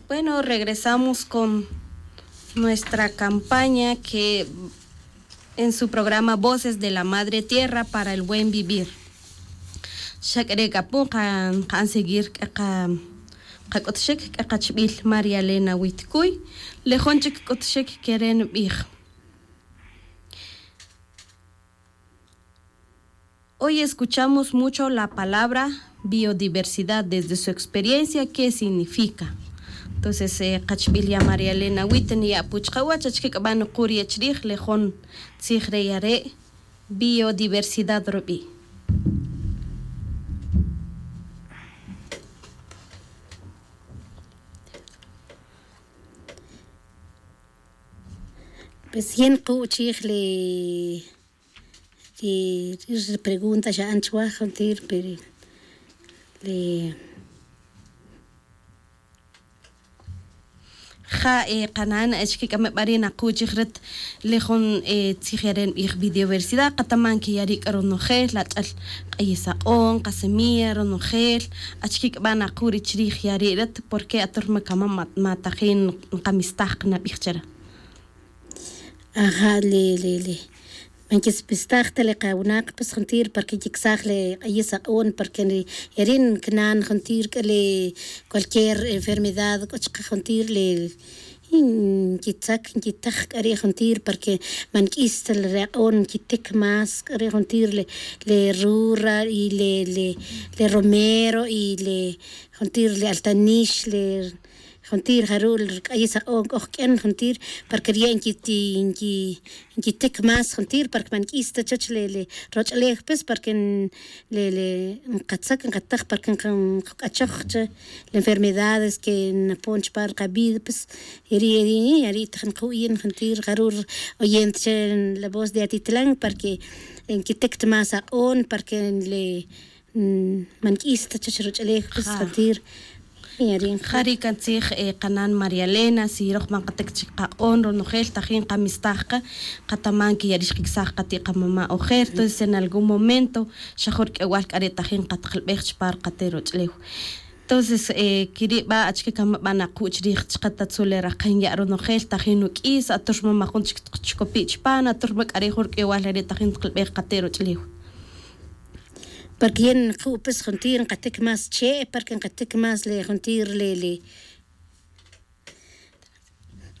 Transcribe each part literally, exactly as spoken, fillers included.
Bueno, regresamos con nuestra campaña que en su programa Voces de la Madre Tierra para el Buen Vivir. Xa k'a re' k'a pun qa nqa'n seguir k'a qa qak'utxik k'a qachb'il María Elena Witkuy. Le jun chik k'utxik kere' nb'ij: Hoy escuchamos mucho la palabra biodiversidad desde su experiencia, ¿qué significa? Entonces, eh, qachb'il ya María Elena Witten ya apuch qawach achkik' b'an quri' chrij le jun tzij re' ya re' biodiversidad rub'i'. Pues yin qu' chij le ri ri pregunta xa'an chwa juntir pero le ja' qana'n achkik' ameb'ari' naquchij rit le jun tzij yare' nb'ij biodiversidad qataman ke yari' k'a ronojel la ch'al q'ayis aq'on qasemilla ronojel. Achkik' b'a' naqu' ri chrij yari' rit porke atur ma kamam ma tajin nqamistaj qanab'ij chare'. Aja' le le le man kispistaj ta le qawinaq pues juntir parke nkikisaj le q'ayis aq'on parke ri eri' nkinan juntir k'a le cualquier enfermedad k'o chaqe juntir le nkitzak nkitaj k'a ri' juntir parke man nk'is ta le aq'on nkitik más k'a ri' juntir le le rura y le le romero y le juntir le altanix le juntir jaru' ri k'ayis aq'on k'o jk'en juntir parke riye' nkiti nki nkitik más juntir parke man nk'is ta chuwech le le roch'ulew pues parke le le nqatzak nqataj parke nqak'achoj che le enfermedades ke napon chupa' ri qavida pues eri' eri' ya ri' taj nqu' yin juntir jaru' ri oyente che la voz de atitlan parke nkitik ta más aq'on parke le man nk'is ta chuwech roch'ulew pues juntir. Ja ri' kantzij qana'n María Elena si roj man qatik chik qaq'on ronojel tajin qamistaj qa qataman ke yari' xqikisaj qati' qamama' ojer entonces en algún momento xa jun rik'ewal k'a re' tajin qatqalb'ej chupa' ri qate' roch'ulew. Entonces kiri' b'a' achike kamab'a' naqu' chrij chaqe ta tzul le raqen ya' ronojel tajin nuk'is atur ma majun chik chkopi' chupa' atur ma k'ari' jun rik'ewal re' re' tajin tqalb'ej qate' roch'ulew. Parke yin nqu' pues juntir nqatik más che' parke nqatik más le juntir le le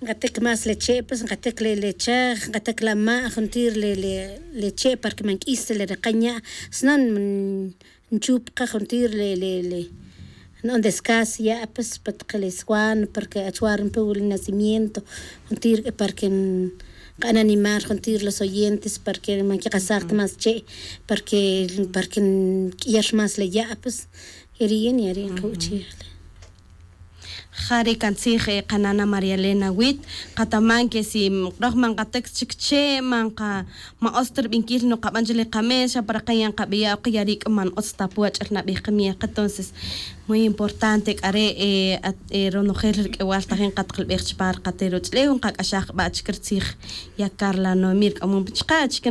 nqatik más le che' pues nqatik le le chaj nqatik la ma' juntir le le le che' parke man nk'is ta le raqen ya' sino nchup qa juntir le le le na'on descanso ya' pues pa taq le swan parke achwa' ri npe wili nacimiento juntir parke nqa'n animar juntir los oyentes parke man kiqasaj ta más che' parke parke nk'iyar más le ya' pues. Yari' yin yari' nqu' chij le ja ri' kantzij qanana' María Elena Wit qataman ke si roj man nqatik chik che' man qa man utz ta rib'inkil nuqab'an chi le qamees xa pa raqen ya nqab'iya' oq ya ri' k'a man utz ta pu ach'el nab'ij qamiya' qa entonces muy importante k'a re' ronojel ri rik'ewal tajin qatqalb'ej chupa' ri qate' roch'ulew nqak'axaj qa b'a' chik ri tzij ya Carla Noemí rik'amom pi chaqe achike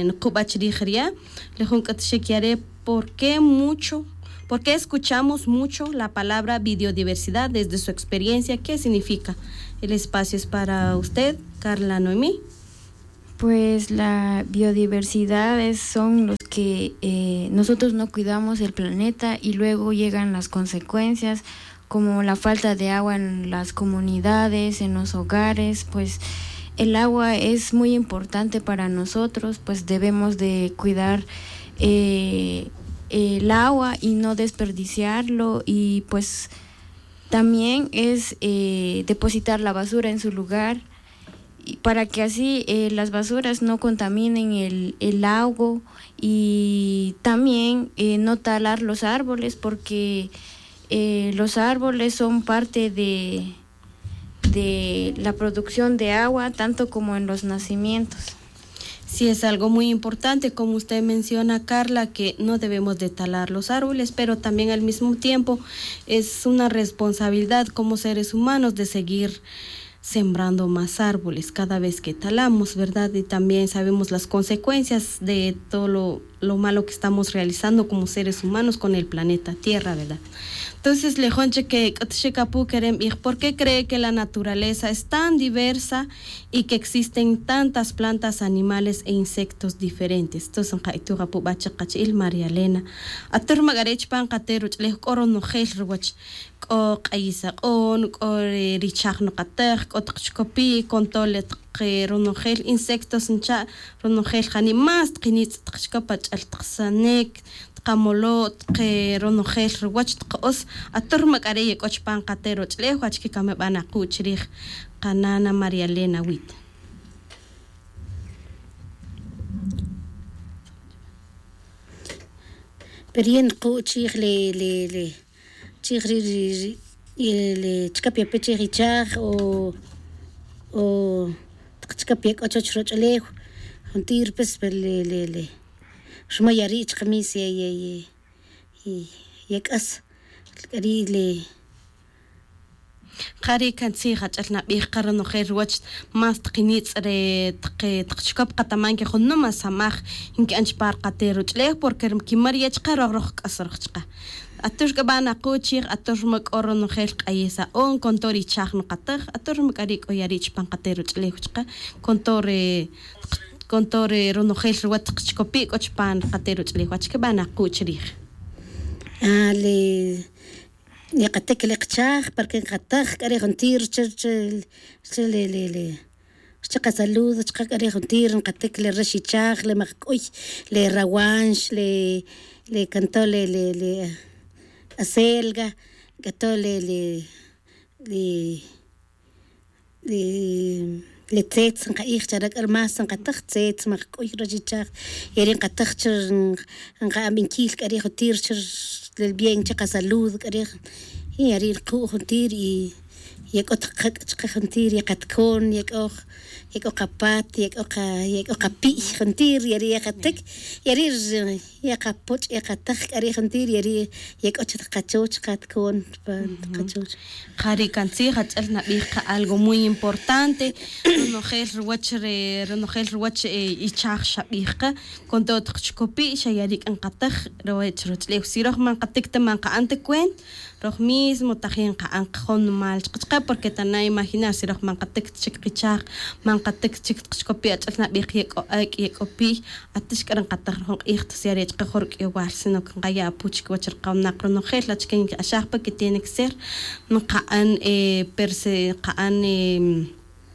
nuqub'a' chrij riya' le jun k'utxik ya re' por qué mucho por qué escuchamos mucho la palabra biodiversidad desde su experiencia qué significa? El espacio es para usted Carla Noemí. Pues la biodiversidad es son los que nosotros no cuidamos el planeta y luego llegan las consecuencias como la falta de agua en las comunidades en los hogares pues el agua es muy importante para nosotros pues debemos de cuidar el agua y no desperdiciarlo y pues también es depositar la basura en su lugar para que así las basuras no contaminen el agua y también no talar los árboles porque los árboles son parte de de la producción de agua tanto como en los nacimientos. Sí es algo muy importante como usted menciona Carla que no debemos de talar los árboles pero también al mismo tiempo es una responsabilidad como seres humanos de seguir sembrando más árboles cada vez que talamos verdad y también sabemos las consecuencias de todo lo lo malo que estamos realizando como seres humanos con el planeta Tierra, ¿verdad? Entonces le jun chik que c'utxic apu querem bij, ¿por qué cree que la naturaleza es tan diversa y que existen tantas plantas, animales e insectos diferentes? Entonces nqa'ituj apu b'a chik qachi'il María Elena. Atur ma k'ari' chupan qate' ruch'ulej k'o ronojel ruwach, k'o q'ayis aq'on, k'o ri richaj nuqataj, k'o taq chikopi', con todo le taq ronojel insectos ncha', ronojel jani' más taq nitz' taq chikop ach'el taq sanek, taq amolo', taq ronojel ruwach taq os. Atur ma k'ari' ye k'o chupan qate' ruch'ulej, achike kame b'an aqu' chirij qanana María Elena Wit. Pero yin nqu' chij le le le chij ri ri ri le chikap yape chij ichaj o o taq chikap yak'o chuwach roch'ulew. Juntir pues le le le ruma yari' chaqamis ye ye ye ye k'as k'ari' le. Jari' kan tzij ach'el nabij qa ronojel ruwach más taq nitz' re taq taq chikop qataman que junuma samaj nki'an chupan ri qate' ruch'ulej porque kimar ye' chaqe roj roj k'as roj chaqe. Atur k'a b'an aqu' chij atur ma k'o ronojel q'ayis aq'on con todo ri ichaj nuqataj atur ma k'ari' k'o yari' chupan qate' ruch'ulej chaqe con todo re con todo re ronojel ruwach taq chikopi' k'o chupan qate' ruch'ulej wach kib'an aqu' chirij. Ah le Yeqatik le qachaj para que nqataj k'a ri' juntir rchel rchel le le le rchel qasalud chaqe k'a ri' juntir nqatik le rax ichaj le maqk'uy le rawanx le le kanto le le le acelga k'ato le le le le tzetz nqa'ij chare k'a ri más nqataj tzetz maqk'uy rax ichaj. Yari' nqataj chi nqa'an b'inkil k'a ri' juntir chi ri bien chi qasalud k'a ri'. Yari' nqu' juntir y ye k'o taq qak' chaqe juntir ye qatko'n ye k'o ye k'o qapat ye k'o qa ye k'o qapi'y juntir yari' ye qatik. Yari' ri Yeqapoch' yeqataj k'a ri' juntir yari' ye k'o chi taq qachoch qatko'n pa qachoch. Jari' kan tzij ach'el nabij qa algo muy importante. Ronojel ruwach re ronojel ruwach ichaj xabij qa con todo taq chikopi' xa yari' k'a nqataj ruwach roch'ulew si roj man qatik ta man qa'an ta cuenta. Roj mismo tajin qa'an qajon nimal chaqe chaqe porque ta na imaginar si roj man qatik ta chik qichaj man qatik ta chik ta qachikopi' ach'el nabij ye k'o ak' ye k'o piy. Atix k'a ri nqataj ri jun q'ij ta si are' chaqe jun ruk'iyowal sino que nqaya' apu chikiwach ri qawnaq ronojel achike nkiq'axaj pa que tiene que ser nqa'an perse nqa'an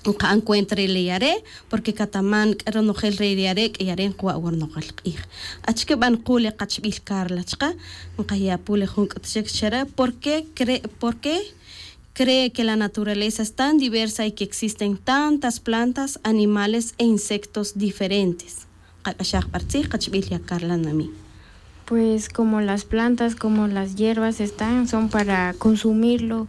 nqa'an cuenta re le yare' porque kataman k'a ronojel re le yare' k'a yare' nqwa' wa ronojel q'ij. Achike b'a' nqu' le qachb'il Carla chaqe nqaya' apu le jun k'ut chik chare' por qué cre por qué cree que la naturaleza es tan diversa y que existen tantas plantas, animales e insectos diferentes. Qak'axaj b'a' ri tzij qachb'il ya Carla Nami. Pues como las plantas, como las hierbas están, son para consumirlo,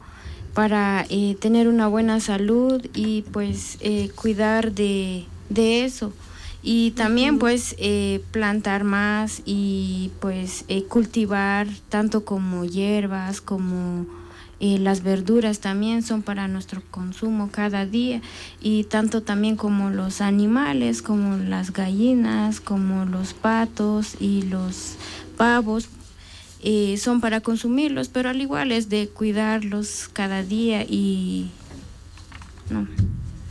para eh, tener una buena salud y pues eh, cuidar de, de eso. Y también pues eh, plantar más y pues eh, cultivar tanto como hierbas, como eh, las verduras también son para nuestro consumo cada día y tanto también como los animales, como las gallinas, como los patos y los pavos, eh, son para consumirlos, pero al igual es de cuidarlos cada día y no.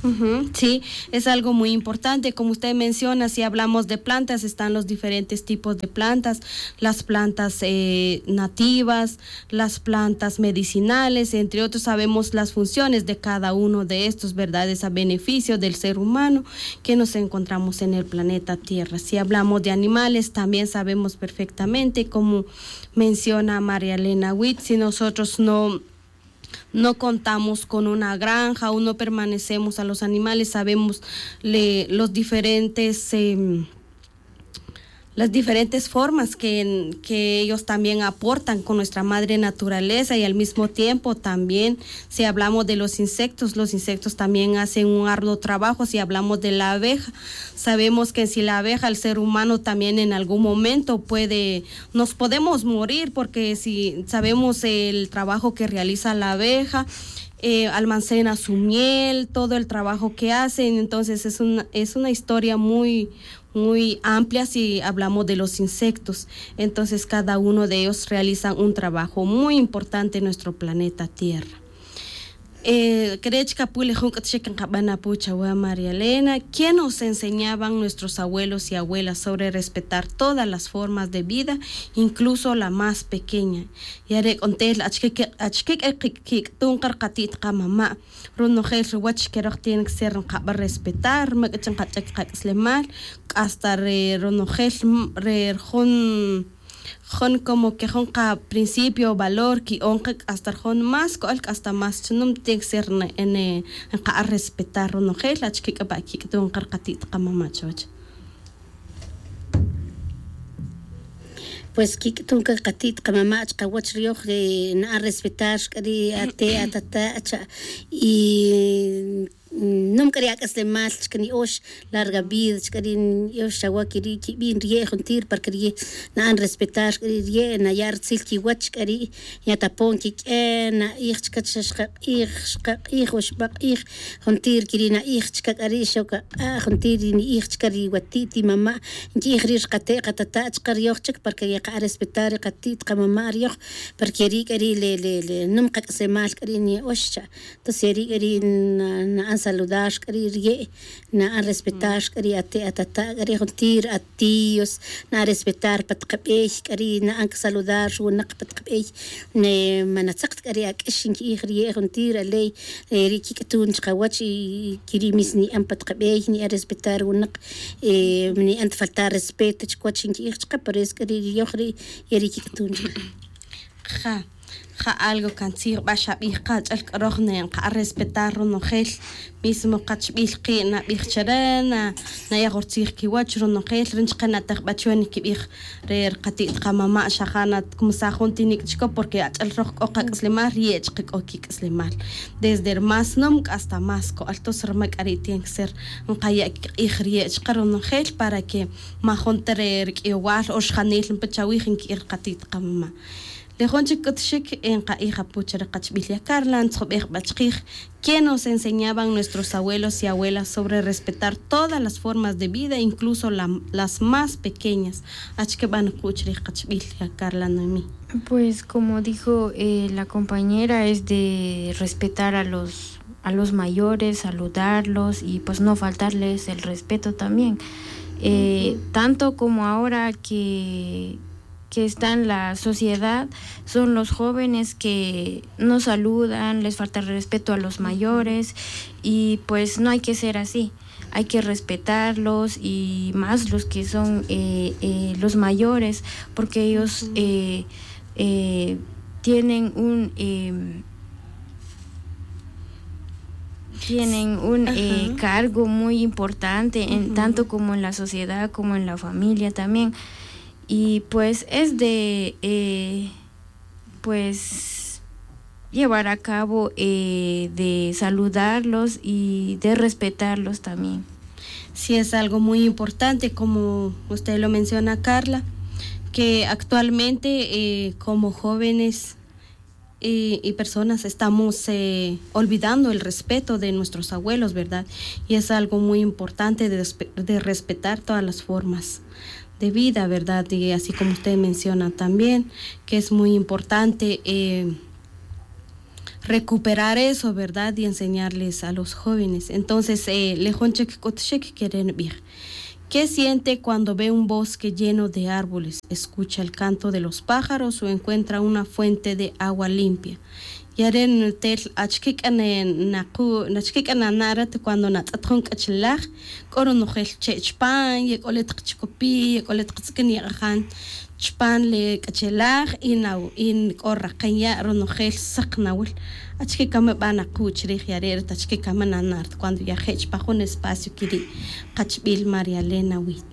Ujú, sí, es algo muy importante. Como usted menciona, si hablamos de plantas, están los diferentes tipos de plantas, las plantas eh, nativas, las plantas medicinales, entre otros, sabemos las funciones de cada uno de estos, ¿verdad? Es a beneficio del ser humano que nos encontramos en el planeta Tierra. Si hablamos de animales, también sabemos perfectamente, como menciona María Elena Witt, si nosotros no no contamos con una granja o no permanecemos a los animales, sabemos le, los diferentes eh, las diferentes formas que, que ellos también aportan con nuestra madre naturaleza y al mismo tiempo también si hablamos de los insectos, los insectos también hacen un arduo trabajo. Si hablamos de la abeja, sabemos que si la abeja, el ser humano también en algún momento puede, nos podemos morir porque si sabemos el trabajo que realiza la abeja, eh, almacena su miel, todo el trabajo que hacen, entonces es una, es una historia muy, muy amplias si hablamos de los insectos. Entonces cada uno de ellos realizan un trabajo muy importante en nuestro planeta Tierra. Crech kapu le jun k'utxik nqab'an apu chawa María Elena, ¿qué nos enseñaban nuestros abuelos y abuelas sobre respetar todas las formas de vida, incluso la más pequeña? Ya re' k'o ntel achkik achkik k'ay kik'tun qa rqati't qamama'. Ronojel ruwach keroj tiene que ser nqab'an respetar ma k'ich nqach'ek qak'aslemal, hasta re ronojel re rjun jun como que jun qaprincipio o valor ki'on qa hasta rjun más ko'al hasta más chnum tiene que ser nqa'an respetar ronojel achkik k'a pa' kik'tun qa rqati't qamama' chuwach. Pues kik'tun qa qati't qamama' chqawach riyoj na'an respetar xk'ari' ate' atata' cha' y num k'ari' ak'aslemal chka ni'ox larga vida chka ri' ni'ox chawa kiri' kibin riye' juntir para que riye' na'an respetar chka ri' riye' naya' ritzil kiwach chka ri' yatapon kik'e na'ij chka xa xqaq'ij xqaq'ij o xbaq'ij juntir kiri' na'ij chka k'ari' xokaq'a' juntir ri ni'ij chka ri wati't y mama' nki'ij ri' rqate' qatata' chka riyoj chik para que yaqa'a respetar ri qati't qamama' riyoj para que ri' k'ari' le le le num qak'aslemal k'ari' ni'ox cha' Entonces eri k'ari' na'an saludar k'ari' riye' na'an respetar k'ari' ate' atata' k'ari' juntir atíos na'an respetar pa tqab'ey k'ari' na'an kisaludar ruwinaq pa tqab'ey. Ma natzaq ta k'ari' ak'ix nki'ij riye' juntir aley eri' kik'tun chqawach y kiri' mis ni'an pa tqab'ey ni'an respetar ruwinaq ni'an ta faltar respeto chkiwach nki'ij chqa por eso k'ari' riyoj ri' eri' kik'tun chqa. Ja algo kan tzij b'a xab'ij qa ch'al k'a roj nqa'a respetar ronojel mismo qachb'il qi' nab'ij chare' naya' jun rtzij kiwach ronojel ri nchqe natej b'a chuwe nikib'ij re rqati't qamama' xa ja' natkumisaj jun tinik' chiko porque ach'al roj k'o qak'aslemal riye' chqe k'o kik'aslemal desde ri más num k'asta más ko'al tos ri ma k'ari' tiene que ser nqaya' kiq'ij riye' chqe ronojel para que ma jun ta re rik'iyowal o rxanil npe chawij nki'ij rqati't qamama'. Le jun chik k'utxik nqa'ij apu chare' qachb'il ya karla ntzjub'ej b'a chqij. Quién nos enseñaban nuestros abuelos y abuelas sobre respetar todas las formas de vida incluso las más pequeñas? Achike b'a nuqu' chrij qachb'il ya karla noemí. Pues como dijo la compañera es de respetar a los a los mayores, saludarlos y pues no faltarles el respeto también. Tanto como ahora que que está en la sociedad son los jóvenes que no saludan, les falta respeto a los mayores y pues no hay que ser así. Hay que respetarlos y más los que son los mayores porque ellos tienen un tienen un cargo muy importante en tanto como en la sociedad como en la familia también. Y pues es de eh, pues llevar a cabo eh, de saludarlos y de respetarlos también. Sí, es algo muy importante, como usted lo menciona, Carla, que actualmente eh, como jóvenes y personas estamos olvidando el respeto de nuestros abuelos, ¿verdad? Y es algo muy importante de respetar todas las formas de vida, ¿verdad? Y así como usted menciona también que es muy importante recuperar eso, ¿verdad? Y enseñarles a los jóvenes. Entonces le jun chik k'utxik kere' nb'ij. ¿Qué siente cuando ve un bosque lleno de árboles, escucha el canto de los pájaros o encuentra una fuente de agua limpia? Ya re' ntel achike k'a naqu' achike k'a nana' rat cuando natz'et jun k'achalaj k'o ronojel che' chipan ye k'o le taq chikopi' ye k'o le taq tz'ikin ye q'ajan chipan le k'achalaj y k'o raqen ya' ronojel saq nawil. Achike kama b'a naqu' chrij ya re' rat achike kama nana' rat cuando ya je' chipan jun espacio kiri'? Qachb'il María Elena Wit.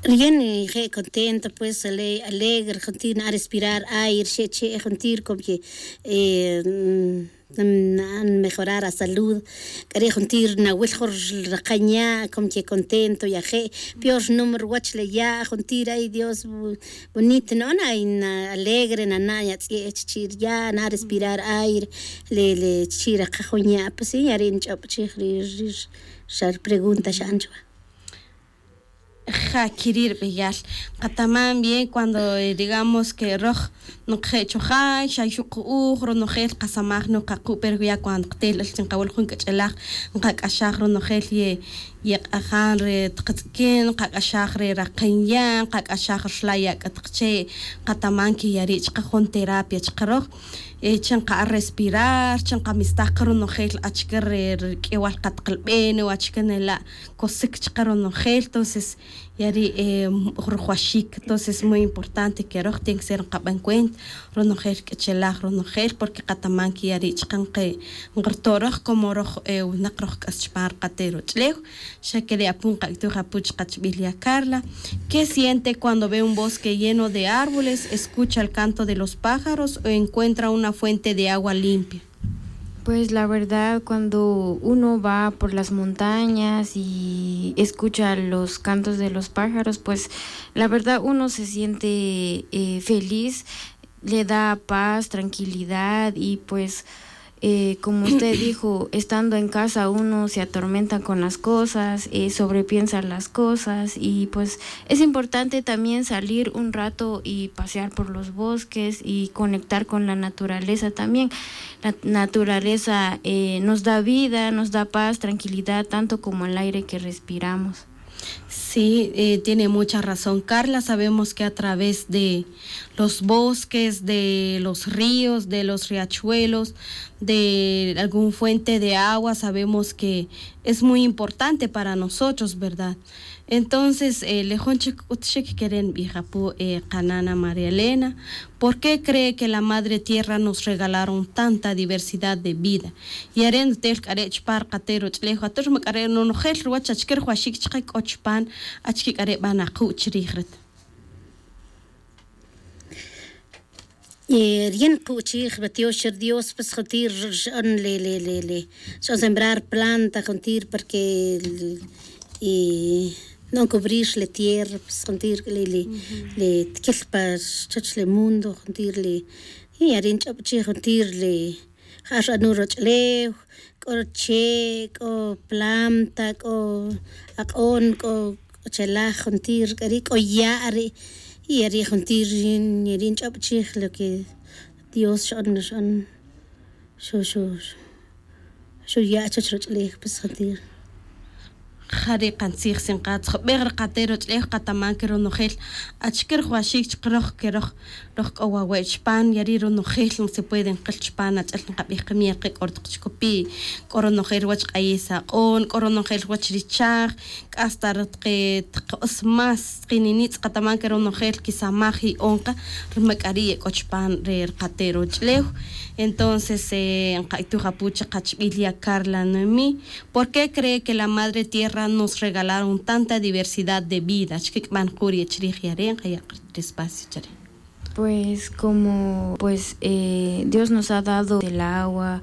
Riyen je' contento pues alegre juntir na'an respirar aire xe' che' juntir como que Nmejorar asalud. K'ari' juntir nawil jun raqan ya' como que contento yaje' peor rnum ruwach le ya' juntir ay dios. Bonito no'on ay na alegre nana' yatz'ie' chichi' ri ya' na respirar aire. Le le chichi' raqaj jun ya' pues si ya ri' nch'ob' chij ri ri xa ri pregunta xa'an chuwa. Ja kiri' ri b'eyal. Qataman bien cuando digamos que roj noqje' chojay xa yuq' uj ronojel qasamaj noq qaqu' pero ya cuando qtel chi nqawil jun k'ach'elaj nqak'axaj ronojel ye yeq'ajan re taqatz'ikin nqak'axaj re raqen ya' nqak'axaj rlay ak'a taq che'. Qataman que ya ri' chaqe jun terapia chaqe roj. Chi nqa'a respirar chi nqamistaj qa ronojel achike re rik'ewal qataq lb'en o achike nela' kosik chaqe ronojel. Tonces ya ri' rujwaxik tonces muy importante que roj tiene que ser nqab'an cuenta ronojel k'ichelaj ronojel porque qataman que ya ri' chaqe nqe nqarto' roj como roj winaq roj k'as chupan ri qate' roch'lew. Xa kere' apu' nqak'tuj apu' chaqachb'il ya carla. ¿Qué siente cuando ve un bosque lleno de árboles escucha el canto de los pájaros o encuentra una fuente de agua limpia? Pues la verdad, cuando uno va por las montañas y escucha los cantos de los pájaros, pues la verdad uno se siente eh, feliz, le da paz, tranquilidad y pues eh, como usted dijo, estando en casa uno se atormenta con las cosas, eh, sobrepiensa las cosas y pues es importante también salir un rato y pasear por los bosques y conectar con la naturaleza también. La naturaleza eh, nos da vida, nos da paz, tranquilidad, tanto como el aire que respiramos. Sí, eh, tiene mucha razón Carla. Sabemos que a través de los bosques, de los ríos, de los riachuelos, de algún fuente de agua, sabemos que es muy importante para nosotros, ¿verdad? Entonces, eh, le jun chik k'ut chik keren nbij apu' eh, qanana María Elena, ¿por qué cree que la madre tierra nos regalaron tanta diversidad de vida? Y are' ntel k'are' chupan ri qate' roch'lew atur ma k'are' nonojel ruwach achike rujuaxic chake k'o chupan achike k'are' b'an aqu' chirij rit. Yin qu'chij batiox ri dios pues juntir x'on le le le le x'on sembrar planta juntir porque y no cubrir le tierra pues juntir le le le tkil pa chach le mundo juntir le y arin ch'ob' chi juntir le ja' x'anu roch'lew k'o che' k'o planta k'o aq'on k'o k'o chelaj juntir k'ari' k'o ya' ri' y ya ri' juntir yin ya ri' nch'ob' chij lo que dios xon xon xo xo xo ya' chach roch'lej pues juntir. Jari' qantzij si nqatzjob'ej ri qate' roch'lej qataman ke ronojel achike rujwaxik chaqe roj ke roj roj k'o wawe' chupan ya ri' ronojel se puede nqil chupan ach'el nqab'ij qamiya qe k'o ri taq chikopi' k'o ronojel ruwach q'ayis aq'on k'o ronojel ruwach ri chaj k'asta ri taqe taq os más taqe ninitz' qataman ke ronojel kisamaj y onqa ri ma k'ari' ye k'o chupan re ri qate' roch'lew. Entonces nqak'tuj apu' chaqachb'il ya carla noemí. ¿Por qué cree que la madre tierra nos regalaron tanta diversidad de vida? Achike kib'an quri' chirij ya re' nqaya' qa ri espacio chare'. Pues como pues eh, dios nos ha dado el agua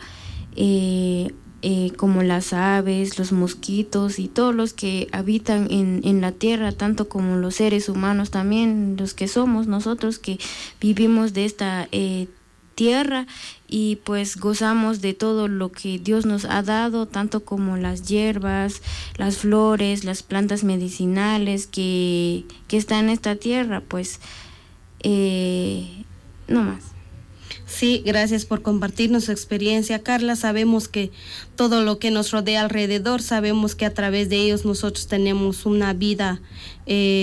eh, eh, como las aves los mosquitos y todos los que habitan en, en la tierra tanto como los seres humanos también los que somos nosotros que vivimos de esta eh, tierra y pues gozamos de todo lo que dios nos ha dado tanto como las hierbas, las flores, las plantas medicinales que que están en esta tierra pues eh, no más. Sí, gracias por compartirnos su experiencia carla sabemos que todo lo que nos rodea alrededor sabemos que a través de ellos nosotros tenemos una vida eh,